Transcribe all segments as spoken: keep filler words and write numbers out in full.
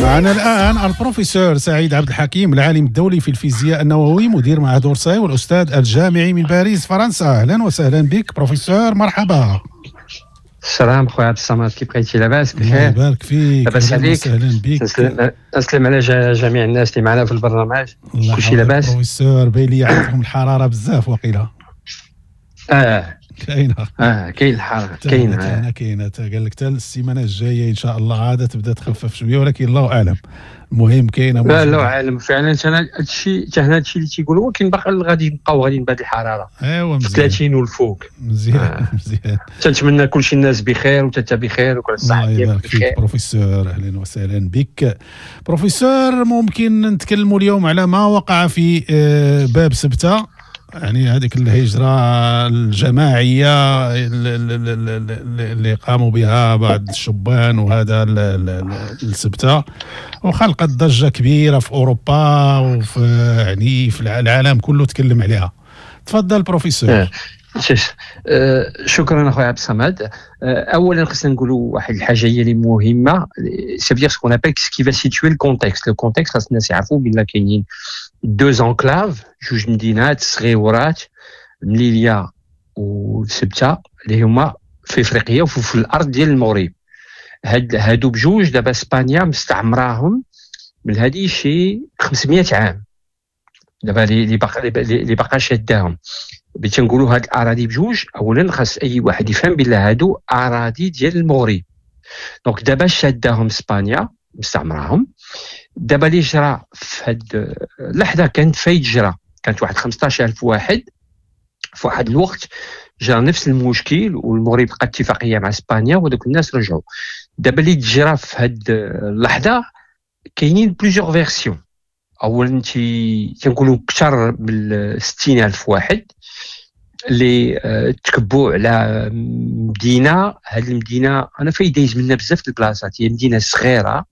معنا الآن البروفيسور سعيد عبد الحكيم، العالم الدولي في الفيزياء النووي، مدير معهد أورساي والأستاذ الجامعي من باريس فرنسا. أهلا وسهلا بك بروفيسور، مرحبا. السلام خويا عبد الصمد، كيف بقيتي؟ لاباس؟ بخير، الله يبارك فيك. لاباس عليك؟ اهلا بك. تسلم على جميع الناس اللي معنا في البرنامج. كلشي لاباس بروفيسور؟ باين لي عندكم الحرارة بزاف وقيله. اه كاينه. اه كاين الحرارة كاينه. كاينه كاينه قال لك حتى السيمانة الجاية ان شاء الله عادة تبدا تخفف شويه، ولكن الله اعلم. المهم كاينه. لا، الله اعلم فعلا. حتى هادشي حتى هنا هادشي اللي تيقولوا، ولكن باقي غادي نبقاو غاديين بهذه الحراره. ايوا مزيان. ثلاثين والفوق. مزيان آه. مزيان. تنتمنى كلشي الناس بخير وانت بخير وكل الصحة. الله يبارك فيك بروفيسور، اهلا وسهلا بك بروفيسور. ممكن نتكلموا اليوم على ما وقع في باب سبته، يعني هذيك الهجرة الجماعية اللي قاموا بها بعض الشبان وهذا السبتة، وخلقت ضجة كبيرة في أوروبا وفي يعني في العالم كله تكلم عليها. تفضل بروفيسور. شكرا اخويا عبد الصمد. اولا خصنا نقولوا واحد الحاجة هي اللي مهمه، c'est ce qu'on appelle ce qui va situer le contexte. le contexte خاص الناس يعرفوا بان كاينين deux enclaves، جوج مدينات صغيورات، مليليا وسبته، اللي هما في افريقيا وفي الارض ديال المغرب. هاد هادو بجوج دابا اسبانيا مستعمراهم من هادي شي خمسمية عام دابا اللي باقا اللي باقا شاداهم. باش تنقولوا هاد الاراضي بجوج، اولا خاص اي واحد يفهم بلا هادو اراضي ديال المغرب. donc دابا شاداهم اسبانيا مستعمراهم. دابا اللي جرى في هاد اللحظة كانت فايت جرى، كانت واحد خمسطاش ألف واحد في واحد الوقت جرى نفس المشكل، والمغرب لقى اتفاقية مع اسبانيا ودوك الناس رجعوا. دابا اللي تجرى في هاد اللحظة كاينين plusieurs versions. اولا تنقولوا اكثر من ستين ألف واحد اللي تكبوا على مدينة. هاد المدينة انا فايت دايز منها بزاف البلاصات، هي مدينة صغيرة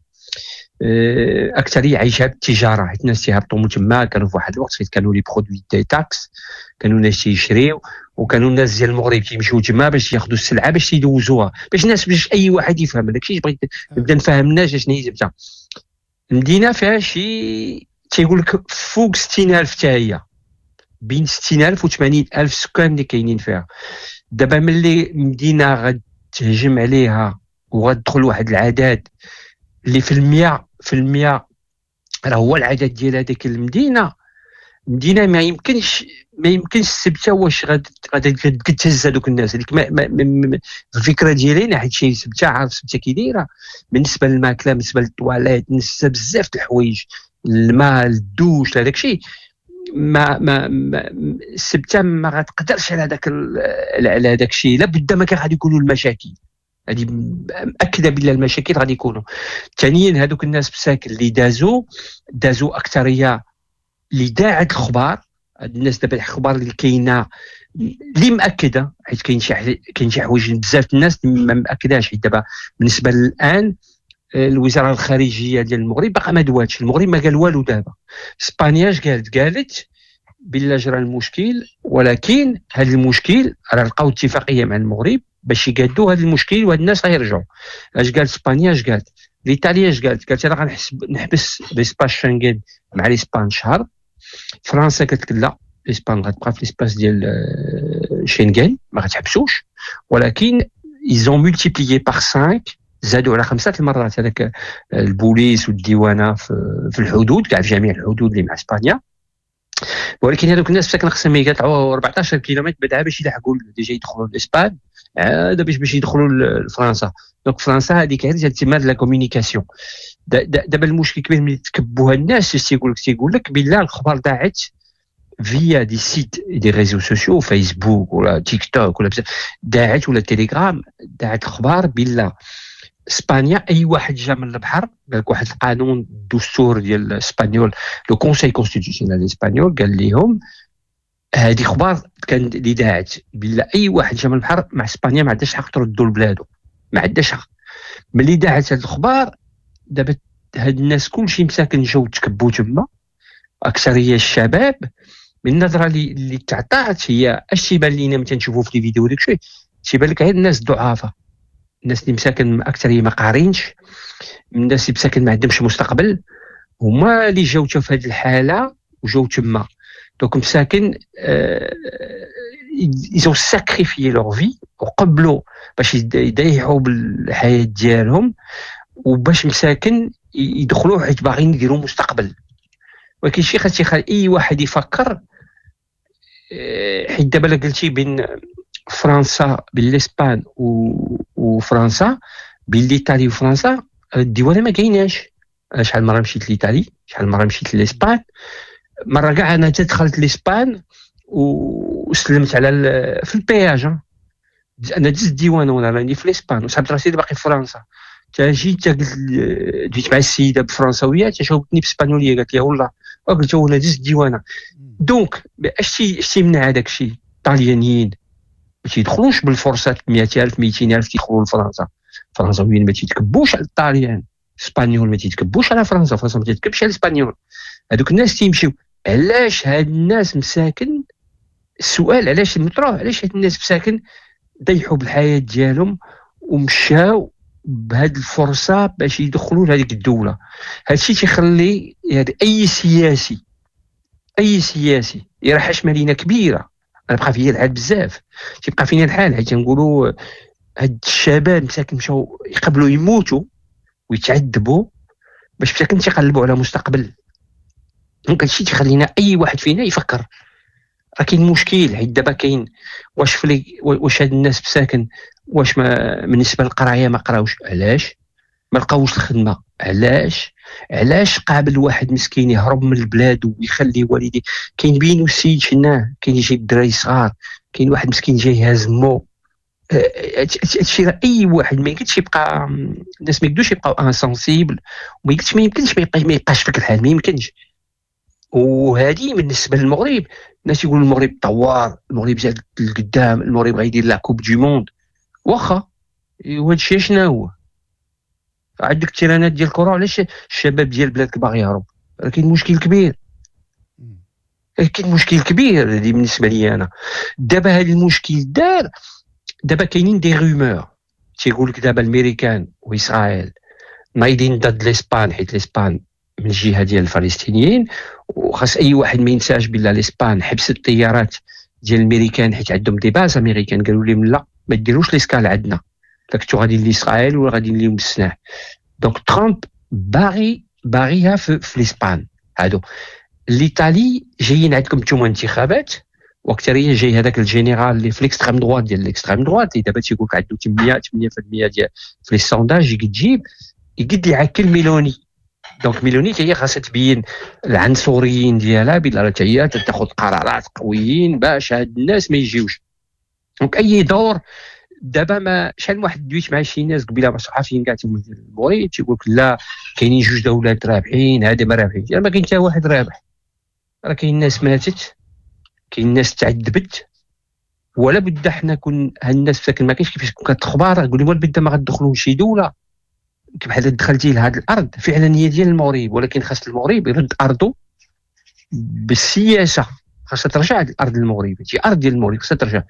اكثرية عايشه بالتجاره، حيت الناس تيهبطوا من تما. كانوا في واحد الوقت فين كانوا les produits détax، كانوا الناس تيشريو، وكانوا الناس ديال المغرب تيمشيو تما باش ياخذوا السلعة باش يدوزوها، باش الناس باش اي واحد يفهم داكشي. بغيت نبدا نفهم الناس شنو هي زبدة. المدينة فيها شي تيقول لك فوق ستين ألف، حتى هي بين ستين ألف و ثمانين ألف سكان اللي كاينين فيها. دابا ملي مدينة غتهجم عليها وغتدخل واحد العدد اللي في المية في المية راه هو العدد ديال هذيك المدينة، المدينة ما يمكنش ما يمكنش السبته واش غادي تهز هذوك الناس. هذيك الفكرة ديالي انا، حيت شي سبته عارف سبته كي دايرة بالنسبة للماكله، بالنسبة للطواليت، بالنسبة بزاف د الحوايج، الماء، الدوش، هذاك الشيء. ما ما السبته ما غتقدرش على هذاك على هذاك الشيء، لابد ما كان غادي يكونوا المشاكل. هذه مأكده بلا المشاكل غادي يكونوا. ثانيا هذوك الناس بساكن اللي دازوا دازوا اكثرية اللي داعت الخبار. هاد الناس دابا الخبار اللي كاينه اللي مأكده، حيت كاين شي كاين شي حوايج بزاف الناس ما مأكداش. حيت دابا بالنسبة للان الوزارة الخارجية ديال المغرب باقا ما دواتش، المغرب ما قال والو. دابا اسبانيا اش قالت؟ قالت بلا جرى المشكل، ولكن هذا المشكل راه لقاو اتفاقية مع المغرب باش يقادوا هذا المشكل وهاد الناس غيرجعوا. اش قالت اسبانيا؟ اش قالت ايطاليا؟ اش قالت؟ قالت انا غنحسب نحبس l'espace Schengen مع l'Espagne شهر. فرنسا قالت لا، l'Espagne غتبقى في l'espace ديال شنغن ما غتحبسوش، ولكن ils ont multiplié par خمسة، زادوا على خمسة المرات هذاك البوليس والديوانه في الحدود، كاع في جميع الحدود اللي مع اسبانيا. ولكن هذوك الناس مساكن خصهم يقطعوا أربعطاش كيلومتر بعدا باش يلحقوا déjà يدخلوا l'Espagne، عاد باش باش يدخلوا لفرنسا. donc فرنسا هذيك غير تما la communication. دابا المشكل كبير ملي تكبوها الناس، تيقول لك تيقول لك بالله الخبر ضاعت via des sites des réseaux sociaux، فيسبوك ولا تيك توك ولا بزاف داعت ولا تيليجرام، داعت الخبار بالله اسبانيا اي واحد جا من البحر. قال لك واحد القانون الدستور ديال espagnol، le conseil constitutionnel espagnol، قال لهم هذه اخبار كان اللي داعت بلا اي واحد جا من البحر مع اسبانيا ما عندهاش حق تردوا لبلادو، ما عندهاش حق. ملي داعت هذه الاخبار دابا هاد الناس كلشي مساكن جاو تكبوا تما، اكثرية الشباب. من النظرة اللي اللي تعطات هي اش تيبان لينا ملي تنشوفوا في les vidéos داك الشيء، تيبان لك غير الناس الضعافه، الناس اللي مساكن اكثر ما قارينش، الناس اللي مساكن ما عندهمش مستقبل، هما اللي جاو في هذه الحالة وجاو تما. donc مساكن ils ont sacrifié leur vie وقبلوا باش يضيعوا بالحياة ديالهم وباش مساكن يدخلوا حيت باغيين يديروا مستقبل. ولكن شي خاص يخلي اي واحد يفكر، حيت دابا قلتي بين فرنسا بين l'Espagne وفرنسا، بين l'Italie وفرنسا، الديوانه ما كايناش. شحال مرة مشيت l'Italie، شحال مرة مشيت l'Espagne، مرة كاع انا دخلت l'Espagne وسلمت على في ال péage، انا دزت الديوانه وانا راني في l'Espagne وصحبت راسي باقي في فرنسا. تا جيت قلت دويت مع السيدة بالفرنساويه، تا جاوبتني بالاسبانيوليه، قالت لي والله، قلت لها دزت الديوانه. donc اش اش تيمنع هذاك الشيء؟ الطاليانيين ما تيدخلوش بالفرصات مئة ألف مئتين ألف تيدخلوا لفرنسا. الفرنساويين ما تيتكبوش على الطاليان، الاسبانيول ما تيتكبوش على فرنسا، فرنسا ما تيتكبش على الاسبانيول. هذوك الناس تيمشيو. علاش هاد الناس مساكن؟ السؤال علاش المطروح، علاش هاد الناس مساكن ضيحوا بالحياة ديالهم ومشاو بهاد الفرصة باش يدخلوا لهذيك الدولة؟ هادشي تيخلي يعني اي سياسي، اي سياسي يرحش مدينة كبيرة. انا بقى فيا الحال بزاف، تيبقى فينا الحال حيت تنقولوا هاد الشباب مساكن مشاو يقبلوا يموتوا ويتعذبوا باش مساكن تيقلبوا على مستقبل. donc هادشي تيخلينا اي واحد فينا يفكر راه كاين مشكل. حيت دابا كاين واش فلي واش هاد الناس مساكن واش ما بالنسبة للقرايه ما قراوش، علاش ما لقاوش الخدمة، علاش علاش قابل واحد مسكين يهرب من البلاد ويخلي والديه؟ كاين بين السيد شناه، كاين يجي الدراري صغار، كاين واحد مسكين جاي هاز مو. هادشي راه اي واحد ما يمكنش يبقى، الناس ما يقدروش يبقاو insensibles، وما يمكنش ما يمكنش ما يبقاش فيك الحال، ما يمكنش. وهذه بالنسبة للمغرب، الناس يقولوا المغرب طوار، المغرب زاد لقدام، المغرب غيدير la coupe du monde. واخا وهذا الشيء شنو هو؟ عندك التيرانات ديال الكره، علاش الشباب ديال بلادك باغي يهرب؟ راه كاين مشكل كبير، كاين مشكل كبير هذه بالنسبة لي انا. دابا هذا المشكل دار، دابا كاينين des rumeurs تيقول لك دابا الميريكان واسرائيل نايدين ضد l'Espagne، حيت l'Espagne من الجهة ديال الفلسطينيين، وخاص اي واحد ما ينساش بلا l'Espagne حبست الطيارات ديال الميريكان حيت عندهم des bases américaines، قالوا لهم لا ما ديروش l'escale عندنا، كنتو غادي لاسرائيل ولا غادي لهم السلاح. donc ترامب باغي باغيها في, في l'Espagne. هادو l'Italie جايين عندكم نتوما انتخابات، واكثريه جاي هذاك الجينيرال اللي في l'extrême droite ديال l'extrême droite اللي دابا تيقول لك عنده ثمانية ثمانية في المية ديال في les sondages، يقد يجيب يقد يعكل ميلوني. donc ميلوني هي خاصها تبين العنصريين ديالها بلا هي تاخذ قرارات قويين باش هاد الناس ما يجيوش. donc اي دور دابا ما شحال من واحد دويت مع شي ناس قبيلة مع صحفيين كاع تيقول المغرب، تيقول لك لا كاينين جوج دولات رابحين، هذا ما رابحين، يعني ما كاين حتى واحد رابح. راه كاين ناس ماتت، كاين ناس تعذبت، ولا بد حنا كون هاد الناس ساكن ما كاينش كيفاش كون كتخبار قول لي ولا بد ما غتدخلوا لشي دولة بحال دخلتي لهاد الارض فعلا هي ديال المغرب، ولكن خاص المغرب يرد ارضه بالسياسة، خاصها ترجع الارض للمغرب، هي ارض ديال المغرب خاصها ترجع.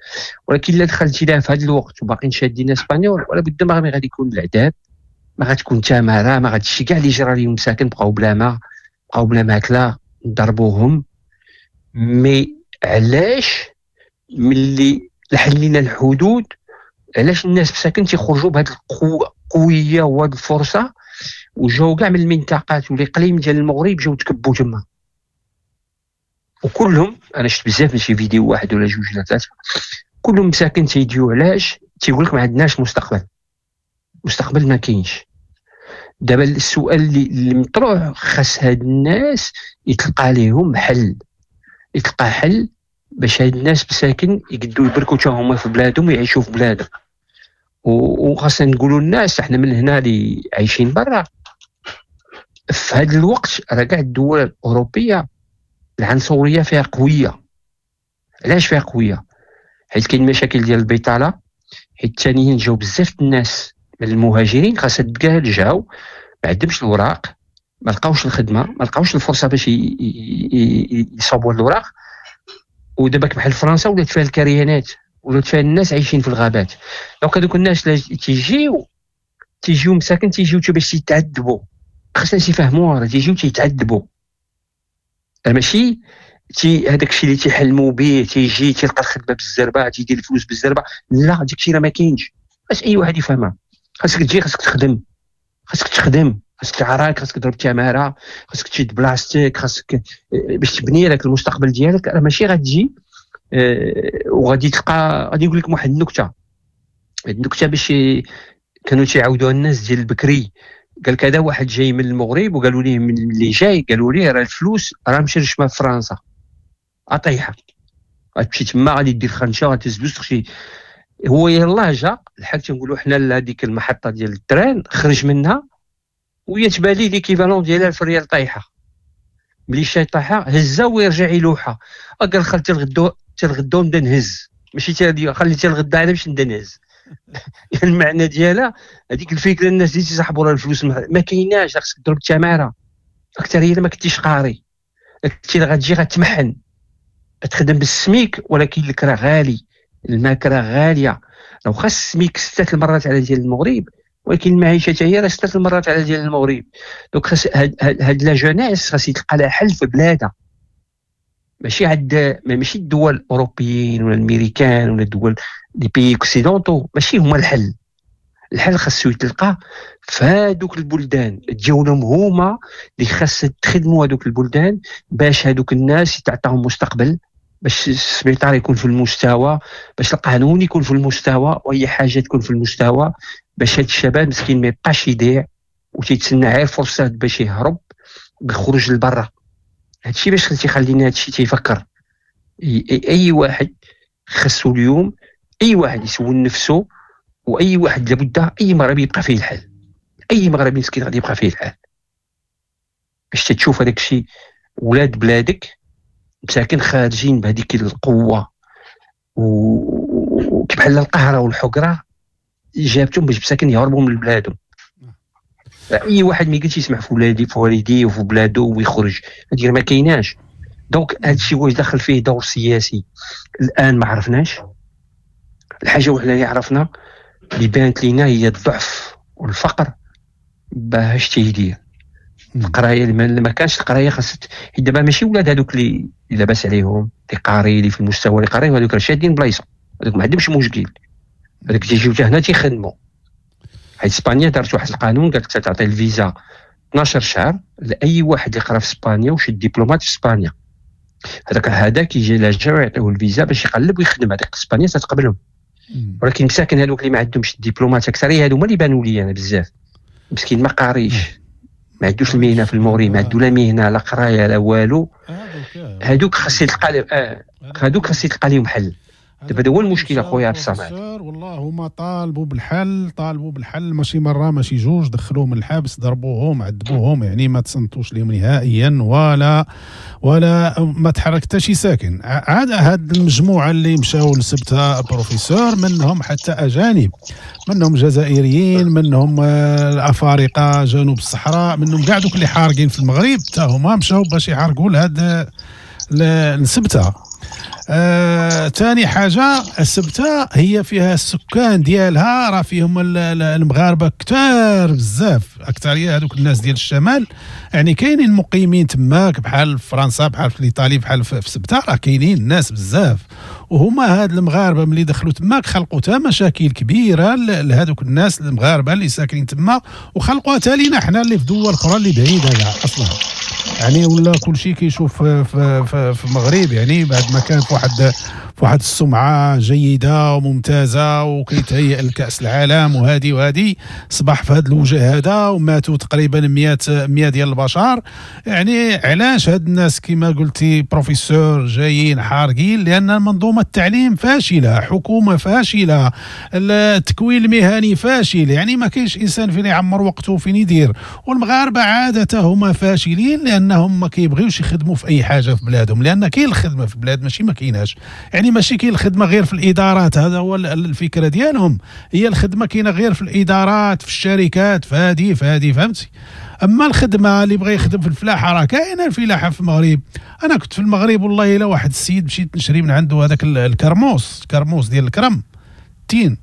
ولكن الا دخلتي لها في هذا الوقت وباقيين شادين اسبانيول، ولا بد ما غادي يكون العذاب، ما غتكون تماره، ما غاديش كاع اللي جرى لهم مساكن بقاو بلا ما، بقاو بلا ماكله، ضربوهم. mais علاش ملي حلينا الحدود علاش الناس مساكن تيخرجوا بهذه القوة القوية وهذه الفرصة، وجاو كاع من المنطقات والاقليم ديال المغرب جاو تكبوا تما وكلهم. انا شفت بزاف ماشي فيديو واحد ولا جوج ولا ثلاثة، كلهم مساكن تيديو. علاش؟ تيقول لك ما عندناش مستقبل، مستقبل ما كاينش. دابا السؤال اللي مطروح، خاص هاد الناس يتلقى لهم حل، يتلقى حل باش هاد الناس مساكن يقدروا يبركوا حتى هما في بلادهم ويعيشوا في بلادهم. وخاصنا نقولوا للناس احنا من هنا اللي عايشين برا في هذا الوقت، راه كاع الدول الاوروبية العنصرية فيها قوية. علاش فيها قوية؟ حيت كاين مشاكل ديال البطالة، حيت ثانيا جاو بزاف الناس من المهاجرين خاصها تقال جاو ما عندهمش الوراق، ما لقاوش الخدمة، ما لقاوش الفرصة باش يصاوبوا الوراق. ودابا بحال فرنسا ولات فيها الكريانات، ولات فيها الناس عايشين في الغابات. donc هذوك الناس اللي تيجيو تيجيو مساكن تيجيو باش يتعذبوا، خاصنا الناس يفهموها، راه تيجيو تيتعذبوا، ماشي تي هذاك الشيء اللي تيحلموا به تيجي تيلقى الخدمة بالزربه تيدير الفلوس بالزربه، لا داك الشيء راه ما كاينش. باش اي واحد يفهمها خاصك تجي خاصك تخدم، خاصك تخدم، خاصك تعراك، خاصك تضرب التماره، خاصك تشد بلاصتك، خاصك باش تبني لك المستقبل ديالك. راه ماشي غتجي وغادي تلقى. غادي نقول لكم واحد النكتة، النكتة باش كانوا تيعاودوها الناس ديال البكري. قال لك هذا واحد جاي من المغرب وقالوا ليه من اللي جاي، قالوا ليه راه الفلوس راه مشرشمه في فرنسا، اطيحه غتمشي تما غادي دير خنشه وغتهز فلوس تخشي. هو يلاه جا الحاج تنقولوا حنا لهذيك المحطة ديال ال train، خرج منها وهي تبان ليه l'équivalent ديال ألف ريال طايحة. ملي شي طايحة هزها ويرجع يلوحها. قال خل تلغدو تلغدو نبدا نهز، ماشي خلي تلغدا انا باش نبدا نهز. المعنى ديالها هذيك الفكرة، الناس اللي تيسحبوا راه الفلوس ما كايناش، خاصك تضرب التماره اكثر. هي ما كنتيش قاري كنتي غتجي غتمحن تخدم بالسميك، ولكن الكرا غالي، الماكره غالية. لو خاص السميك ستة المرات على ديال المغرب، ولكن المعيشة حتى هي راه ستة المرات على ديال المغرب. donc خاص هاد, هاد la jeunesse خاص يتلقى لها حل في بلادها، ماشي عند ماشي الدول الاوروبيين ولا الامريكان ولا الدول les pays occidentaux، ماشي هما الحل. الحل خاصو يتلقى في هادوك البلدان ديالهم، هما اللي خاص تخدموا هادوك البلدان باش هادوك الناس تعطاهم مستقبل، باش السبيطار يكون في المستوى، باش القانون يكون في المستوى، واي حاجة تكون في المستوى، باش هاد الشباب مسكين ما يبقاش يضيع وتيتسنى غير فرصة باش يهرب ويخرج لبرا. هادشي باش تيخلينا هادشي تيفكر. اي واحد خاصو اليوم، اي واحد يسول نفسه، واي واحد لابد اي مغربي يبقى فيه الحال، اي مغربي مسكين غادي يبقى فيه الحال. باش تشوف هذاك الشيء ولاد بلادك مساكن خارجين بهذيك القوة وكبحال القهره والحقره جابتهم باش مساكن يهربوا من بلادهم. اي واحد ما يقدرش يسمع في ولادي في والديه وفي بلادو ويخرج، هذه ما كايناش. donc هذا الشيء واش دخل فيه دور سياسي الان ما عرفناش. الحاجة وحده اللي عرفنا اللي بانت لينا هي الضعف والفقر باش تيدير القراية. ما كانش القراية خاص دابا ماشي ولاد هذوك اللي لاباس عليهم اللي قاري اللي في المستوى اللي قاري، هذوك راه شادين بلايصه، هذوك ما عندهمش مشكل، هذوك تيجيو حتى هنا تيخدموا. حيت اسبانيا دارت واحد القانون قالت تعطي الفيزا اثنا عشر شهر لاي واحد اللي قرا في اسبانيا وشد دبلومات في اسبانيا. هذاك هذا كيجي لا جا يعطيوه الفيزا باش يقلب ويخدم، هذاك اسبانيا تتقبلهم. ولكن مساكن هذوك اللي ما عندهمش الدبلومات اكثرية هذو هما اللي بانوا لي انا بزاف مسكين ما قاريش، ما عندوش المهنة في المغرب، ما عنده لا مهنة لا قرايه لا والو. هذوك خاص يتلقى هذوك خاص يتلقى لهم حل. دابا هذا هو المشكل اخويا عبد الصمد. والله هما طالبوا بالحل، طالبوا بالحل ماشي مرة ماشي جوج، دخلوهم الحبس، ضربوهم، عذبوهم، يعني ما تصنتوش لهم نهائيا ولا ولا ما تحرك حتى شي ساكن. عاد هاد المجموعة اللي مشاو لسبتة بروفيسور منهم حتى اجانب، منهم جزائريين، منهم الافارقة جنوب الصحراء، منهم كاع دوك اللي حارقين في المغرب حتى هما مشاو باش يحرقوا لهاد لسبتة. آه، ثاني حاجة السبتة هي فيها السكان ديالها راه فيهم المغاربة كثار بزاف، أكثرية هذوك الناس ديال الشمال، يعني كاينين مقيمين تماك بحال في فرنسا بحال في ايطاليا بحال في سبتة، راه كاينين الناس بزاف. وهما هاد المغاربة ملي دخلوا تماك خلقوا تا مشاكل كبيرة لهذوك الناس المغاربة اللي ساكنين تما، وخلقوها تا لينا حنا اللي في دول أخرى اللي بعيدة كاع أصلا. يعني ولا كل شيء كيشوف في, في, في المغرب، يعني بعد ما كان في واحد في واحد السمعة جيدة وممتازة وكيتهيأ لكأس العالم وهذه وهذه، صبح في هذا الوجه هذا وماتوا تقريبا مية مية ديال البشر. يعني علاش هاد الناس كما قلتي بروفيسور جايين حارقين؟ لأن منظومة التعليم فاشلة، حكومة فاشلة، التكوين المهني فاشل، يعني ما كاينش إنسان فين يعمر وقته فين يدير. والمغاربة عادة هما فاشلين لأنهم ما كيبغيوش يخدموا في أي حاجة في بلادهم، لأن كاين الخدمة في بلاد ماشي ما كايناش، يعني ماشي كاين الخدمة غير في الإدارات، هذا هو الفكرة ديالهم، هي الخدمة كاينة غير في الإدارات في الشركات في هذه في هذه، فهمتي؟ أما الخدمة اللي بغى يخدم في الفلاحة راه كاينة الفلاحة في المغرب. أنا كنت في المغرب والله إلا واحد السيد مشيت نشري من عنده هذاك الكرموس، الكرموس ديال الكرم التين،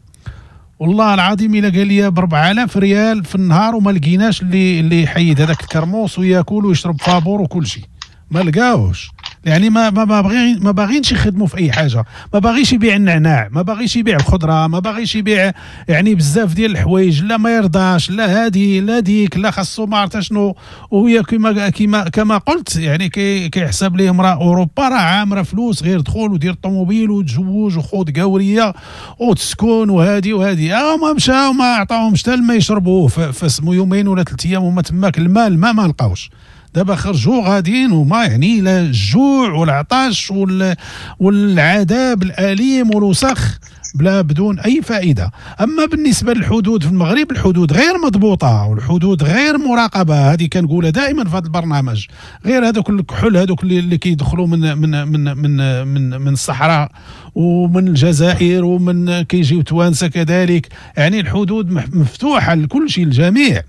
والله العظيم الا قال لي ب أربعة آلاف ريال في النهار وما لقيناش اللي اللي يحيد هذاك الكرموس وياكل ويشرب فابور وكل شيء، ما لقاوش. يعني ما ما باغيين ما باغينش يخدموا في اي حاجة، ما باغيش يبيع النعناع، ما باغيش يبيع الخضرة، ما باغيش يبيع يعني بزاف ديال الحوايج، لا ما يرضاش، لا هادي لا ديك، لا خاصو ما عرفت شنو. وهي كما كما كما قلت يعني كي كيحسب لهم راه اوروبا راه عامرة فلوس، غير دخول ودير طوموبيل وتزوج وخوض قوريه وتسكن وهادي وهادي. اه ما مشاو ما عطاوهمش حتى الماء يشربوه فسمو يومين ولا ثلاث ايام وما تماك الماء الماء ما لقاوش. دابا خرجوا غاديين وما يعني لا الجوع والعطش وال والعذاب الأليم والوسخ بلا بدون أي فائدة. أما بالنسبة للحدود في المغرب، الحدود غير مضبوطة والحدود غير مراقبة، هذه كنقولها دائما في هذا البرنامج. غير هذوك الكحول هذوك اللي, اللي كيدخلوا من من من من من, من الصحراء ومن الجزائر ومن كيجيو توانسة كذلك، يعني الحدود مفتوحة لكل شيء للجميع.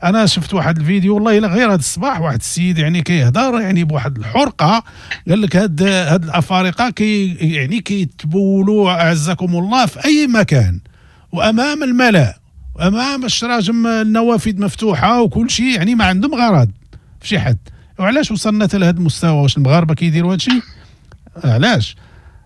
انا شفت واحد الفيديو والله الا غير هذا الصباح، واحد السيد يعني كيهضر يعني بواحد الحرقة، قال لك هاد هاد الافارقة كي يعني كيتبولوا اعزكم الله في اي مكان وامام الملأ وامام الشراجم، النوافذ مفتوحة وكل شيء، يعني ما عندهم غرض في شي حد. وعلاش وصلنا حتى لهذا المستوى؟ واش المغاربة كيديروا هذا الشيء؟ علاش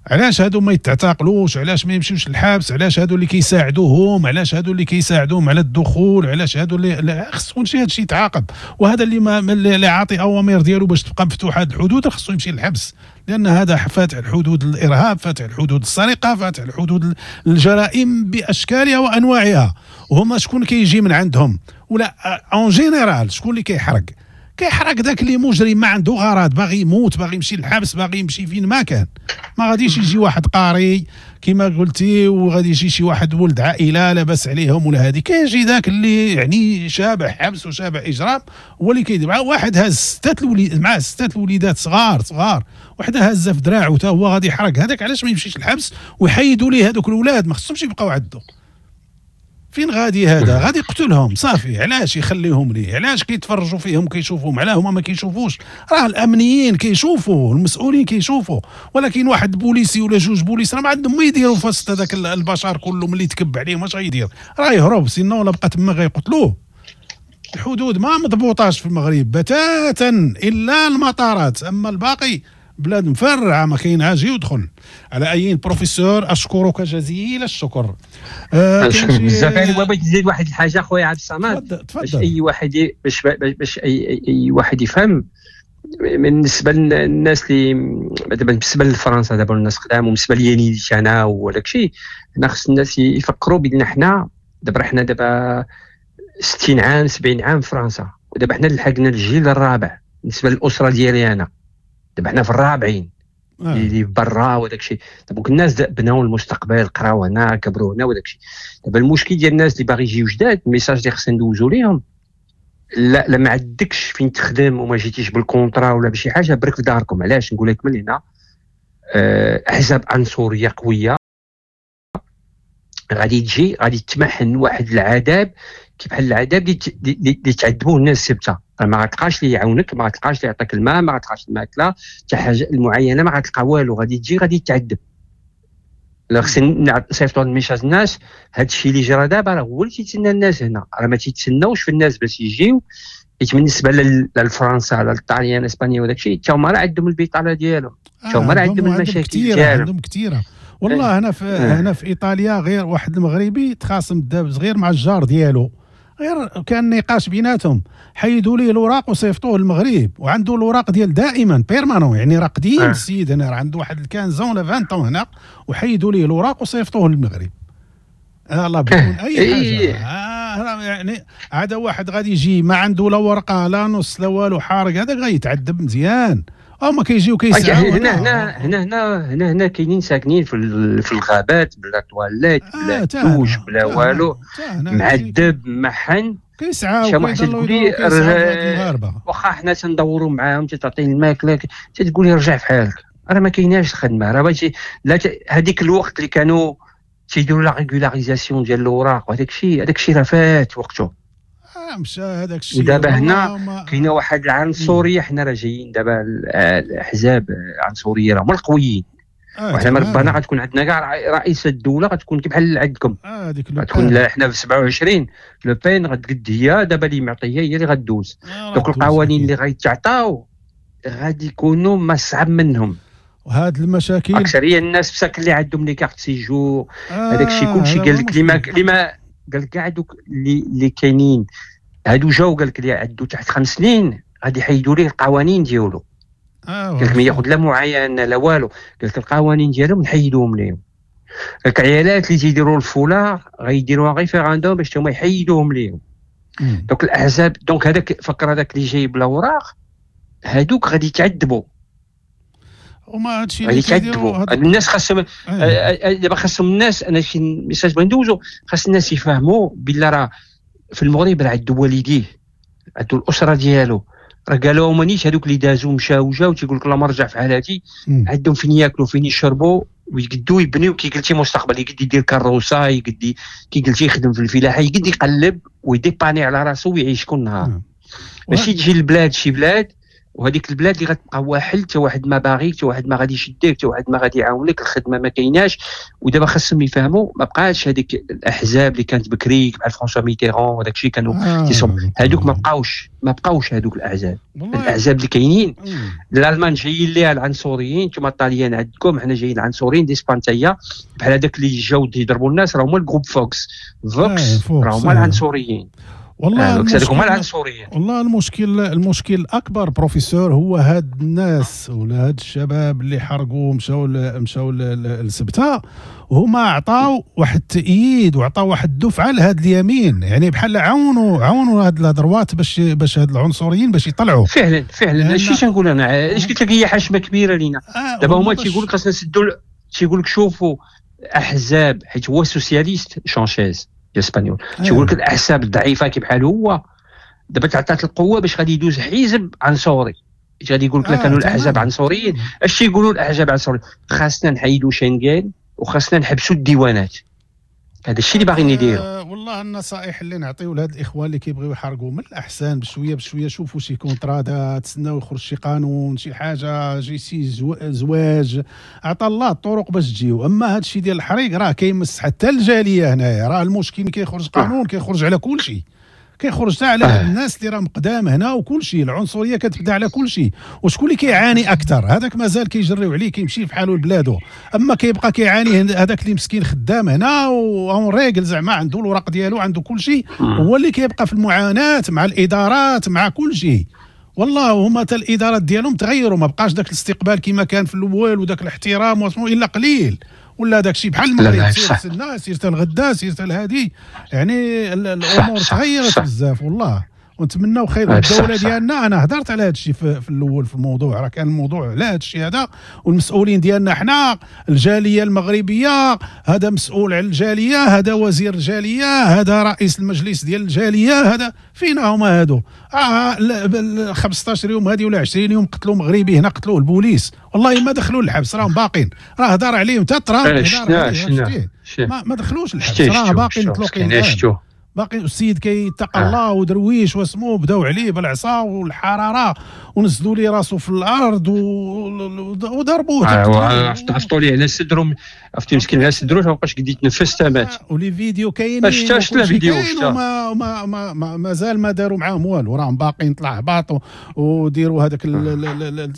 علاش هادو ما يتعتقلوش؟ علاش ما يمشيوش للحبس؟ علاش هادو اللي كيساعدوهم؟ علاش هادو اللي كيساعدوهم على الدخول؟ علاش هادو اللي خص كلشي هادشي يتعاقب. وهذا اللي ما اللي عاطي اوامر ديالو باش تبقى مفتوحة هاد الحدود خصو يمشي للحبس، لان هذا فاتح الحدود الارهاب، فاتح الحدود السرقة، فاتح الحدود الجرائم باشكالها وانواعها. وهما شكون كيجي من عندهم؟ ولا en général شكون اللي كيحرق؟ كيحرق داك اللي مجرم ما عنده غرض، باغي يموت، باغي يمشي للحبس، باغي يمشي فين ما كان. ما غاديش يجي واحد قاري كما قلتي وغادي يجي شي واحد ولد عائلة لاباس عليهم ولا هادي. كيجي داك اللي يعني شابع حبس وشابع اجرام هو اللي كيدير. مع واحد هاز ستة الوليد، معاه ستة الوليدات صغار صغار، وحده هازه في دراعو حتى هو غادي يحرق. هذاك علاش ما يمشيش للحبس ويحيدوا ليه هذوك الاولاد؟ ما خصهمش يبقاو عندو. فين غادي هذا؟ غادي يقتلهم صافي. علاش يخليهم ليه؟ علاش كيتفرجوا فيهم كيشوفوهم؟ علاه هما ما كيشوفوش؟ راه الامنيين كيشوفوا، المسؤولين كيشوفوا، ولكن واحد بوليسي ولا جوج بوليس راه ما عندهم ما يديروا في وسط هذاك البشر كله. ملي تكب عليهم اش غيدير؟ راه يهرب، sinon ولا بقى تما غيقتلوه. الحدود ما مضبوطاش في المغرب بتاتا الا المطارات، اما الباقي بلاد مفرعه ما كاين عاجي يدخل. على اي بروفيسور اشكرك جزيل الشكر. آه بزاف. يعني بغيت نزيد واحد الحاجة خويا عبد الصمد، باش اي واحد باش باش اي اي واحد يفهم. بالنسبة للناس اللي دابا بالنسبة لفرنسا دابا الناس قدام، وبالنسبة لي انا وداك الشيء، حنا خص الناس يفكروا بان حنا دابا حنا دابا ستين عام سبعين عام في فرنسا، ودابا حنا لحقنا الجيل الرابع بالنسبة للاسرة ديالي انا. دابا حنا في الرابعين اللي برا وداك الشيء. دابا الناس بناو المستقبل، قراو هنا، كبروا هنا وداك الشيء. دابا المشكل ديال الناس اللي باغي يجيو جداد، ال message اللي خصنا ندوزو ليهم، لا لا ما عندكش فين تخدم وما جيتيش بال contrat ولا بشي حاجة، برك في داركم. علاش نقول لك من هنا؟ احزاب عنصرية قوية غادي تجي، غادي تمحن واحد العذاب كي بحال العذاب اللي تعذبوه الناس السبته. ما غتلقاش اللي يعاونك، ما غتلقاش اللي يعطيك الماء، ما غتلقاش الماكلة حتى حاجة المعينة، ما غتلقى والو. غادي تجي غادي تعذب. لا خصني نصيفطوا ال message الناس، هذا الشيء اللي جرى دابا راه هو اللي تيتسنى الناس هنا، راه ما تيتسناوش في الناس باش يجيو. حيت بالنسبة للفرنسا على الطاليان اسبانيا وداك الشيء، حتى هما راه عندهم البطالة ديالهم، حتى هما راه عندهم المشاكل ديالهم، عندهم كثيرة والله. هنا في هنا في ايطاليا غير واحد المغربي تخاصم داب صغير مع الجار ديالو، غير كان نقاش بيناتهم، حيدوا ليه الوراق وصيفطوه للمغرب، وعنده الوراق ديال دائما permanent، يعني راه قديم آه. السيد هنا راه عنده واحد quinze ولا عشرين هنا، وحيدوا ليه الوراق وصيفطوه للمغرب. آه الله بدون اي حاجة. آه يعني عاد واحد غادي يجي ما عنده لا ورقة لا نص لا والو، حارق، هذاك غيتعذب مزيان. هما كيجيو كيسعاو هنا هنا هنا هنا هنا هنا كاينين ساكنين في في الغابات بلا تواليت بلا دوش بلا والو، معذب محن، كيسعاو كيسعاو. واخا حنا تندوروا معاهم، تتعطيني الماكلة تتقول لي رجع في حالك، راه ما كايناش الخدمة. راه ماشي لا هذيك الوقت اللي كانوا تيديروا la régularisation ديال الاوراق وهذاك الشيء، هذاك الشيء راه فات وقته، مشى هذاك الشيء. ودابا هنا كاينه واحد العنصرية، حنا راه جايين دابا الاحزاب العنصرية راه هما القويين. آه وحنا ربنا غتكون عندنا كاع رئيس الدولة غتكون بحال عندكم. اه ديك غتكون حنا في سبعة وعشرين لو بين غتقد هي دابا اللي معطيه هي اللي غدوز. آه donc القوانين اللي غيتعطاو غادي يكونوا ما صعب منهم. وهاد المشاكل اكثرية الناس بساك اللي عندهم les cartes séjour هذاك الشيء كلشي قال لك اللي ما اللي ما قال لك كاع دوك اللي اللي كاينين هادو جاو قال لك اللي عندو تحت خمس سنين غادي يحيدوا ليه القوانين ديالو. آه قال لك ما ياخذ لا معاينة لا والو، قال لك القوانين ديالهم نحيدوهم ليهم. قال لك العيالات اللي تيديروا الفولاغ غيديروا référendum باش هما يحيدوهم ليهم. donc الاحزاب donc هذاك فكر هذاك اللي جايب الاوراق هادوك غادي يتعذبوا. وما هادشي اللي كيديروا الناس خاصهم دابا خاصهم الناس، انا شي message بغيت ندوزو، خاص الناس يفهموا بلا راه في المغرب راه عندو والديه، عندو الاسرة ديالو، راه قالوا مانيش هذوك اللي دازوا مشاو جاو تيقول لك لا ما رجع في حالاتي، عندهم فين ياكلوا فين يشربوا ويقدوا يبنيو كي قلتي مستقبل، يقد يدير كروسه، يقد كي قلتي يخدم في الفلاحة، يقد يقلب ويديباني على راسو ويعيش كل نهار. ماشي تجي لبلاد شي بلاد وهذيك البلاد اللي غتبقى واحل، حتى واحد ما باغيك، حتى واحد ما غادي يشدك، حتى واحد ما غادي يعاونك، الخدمة ما كايناش. ودابا خاصهم يفهموا ما بقاش هذيك الاحزاب اللي كانت بكري بحال فرانسوا ميتيرون وداك الشيء كانوا آه هذوك ما بقاوش، ما بقاوش هذوك الاحزاب. الاحزاب اللي كاينين الالمان جايين ليها العنصريين، نتوما الطاليان عندكم، حنا جايين العنصريين d'Espagne تاهي بحال هذاك اللي جاو يضربوا الناس راه هما ال groupe فوكس فوكس راه هما العنصريين. والله المشكل والله المشكل المشكل الاكبر بروفيسور هو هاد الناس ولا هاد الشباب اللي حرقوا مشاو مشاو لسبته، هما عطاو واحد التأييد وعطاو واحد الدفعة لهاد اليمين، يعني بحال عاونوا عاونوا هاد la droite باش باش هاد العنصريين باش يطلعوا. فعلا فعلا هادشي تنقول انا، علاش قلت لك هي حشمه كبيرة لينا. آه دابا هما تيقول لك خاصنا نسدوا، تيقول لك شوفوا احزاب، حيت هو socialiste سانشيز الاسبانيول تيقول لك الاحزاب الضعيفة كي بحال هو دابا تعطات القوة باش غادي يدوز حزب عنصري، غادي يقول لك لا كانوا الاحزاب عنصريين. اش تيقولوا الاحزاب عنصريين؟ خاصنا نحيدوا شنغن وخاصنا نحبسوا الديوانات. هذا الشيء اللي باغيين يديروا. آه والله النصائح اللي نعطيو لهاد الاخوان اللي كيبغيو يحرقوا، من الاحسن بشوية بشوية شوفوا شي contrat، تسناو يخرج شي قانون شي حاجة، شي شي زواج، عطا الله الطرق باش تجيو. اما هاد الشيء ديال الحريق راه كيمس حتى الجالية هنايا، راه المشكل كيخرج قانون كيخرج على كل شيء، كيخرج حتى على آه. الناس اللي راهم قدام هنا وكل شيء، العنصرية كتبدا على كل شيء. وشكون اللي كيعاني اكثر؟ هذاك مازال كيجريو عليه كيمشي في حاله لبلادو، اما كيبقى كيعاني هذاك اللي مسكين خدام هنا en règle زعما عنده الوراق ديالو عنده كل شيء، هو اللي كيبقى في المعاناة مع الادارات مع كل شيء. والله هما حتى الادارات ديالهم تغيروا، ما بقاش داك الاستقبال كما كان في الاول وداك الاحترام واسمو الا قليل، ولا داك الشيء بحال المغرب سير السنة سير الغدا سير الهادي، يعني الامور تغيرت بزاف والله. ونتمناو خير الدولة ديالنا. انا هضرت على هذا الشيء في, في الاول في الموضوع، راه كان الموضوع على هذا الشيء هذا، والمسؤولين ديالنا حنا الجالية المغربية، هذا مسؤول على الجالية، هذا وزير الجالية، هذا رئيس المجلس ديال الجالية، هذا فينا هما هادو. اه خمسطاش يوم هذه ولا عشرين يوم قتلوا مغربي هنا، قتلوه البوليس، والله ما دخلوا الحبس، راهم باقين، راه هضر عليهم حتى ترامب ما, ما دخلوش الحبس، راه باقين مطلوقين، باقي السيد كيتقى الله ودرويش واسمو، بداو عليه بالعصا والحرارة ونزلوا لي راسو في الارض وضربوه. عفطوا ليه على صدرو، عرفتي مسكين على صدرو ما بقاش قد يتنفس تمات. و les vidéos كاينين، شتا شتا فيديو وما ما ما ما مازال ما داروا معاهم والو، راهم باقيين طلع هباط وديروا هذاك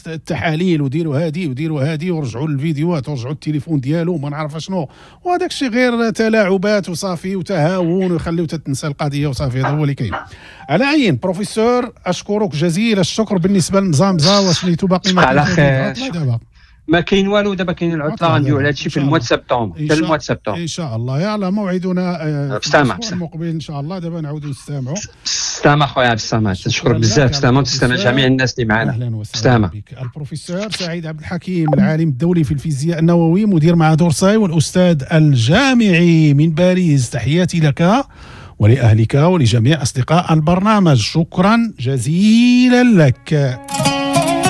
التحاليل وديروا هادي وديروا هادي ورجعوا للفيديوهات ورجعوا التليفون ديالو وما نعرف شنو، وهذاك الشيء غير تلاعبات وصافي وتهاون ويخليو تنسى القضية وصافي. هذا هو اللي كاين. على عين بروفيسور اشكرك جزيل الشكر. بالنسبة للمزامزه وسميتو باقي ما على خير، ما كاين والو دابا، كاين العطلة غنديروا على هادشي في ال mois septembre، حتى ال mois septembre ان شاء الله. يلا موعدنا بسلامه المقبل ان شاء الله. دابا نعاودوا نستمعوا. بسلامه خويا عبد الصمد، تنشكرك بزاف. بسلامه وتسلم جميع الناس اللي معنا. اهلا وسهلا بك. البروفيسور سعيد عبد الحكيم، العالم الدولي في الفيزياء النووي، مدير معهد أورساي والاستاذ الجامعي من باريس، تحياتي لك ولأهلك ولجميع أصدقاء البرنامج، شكرا جزيلا لك.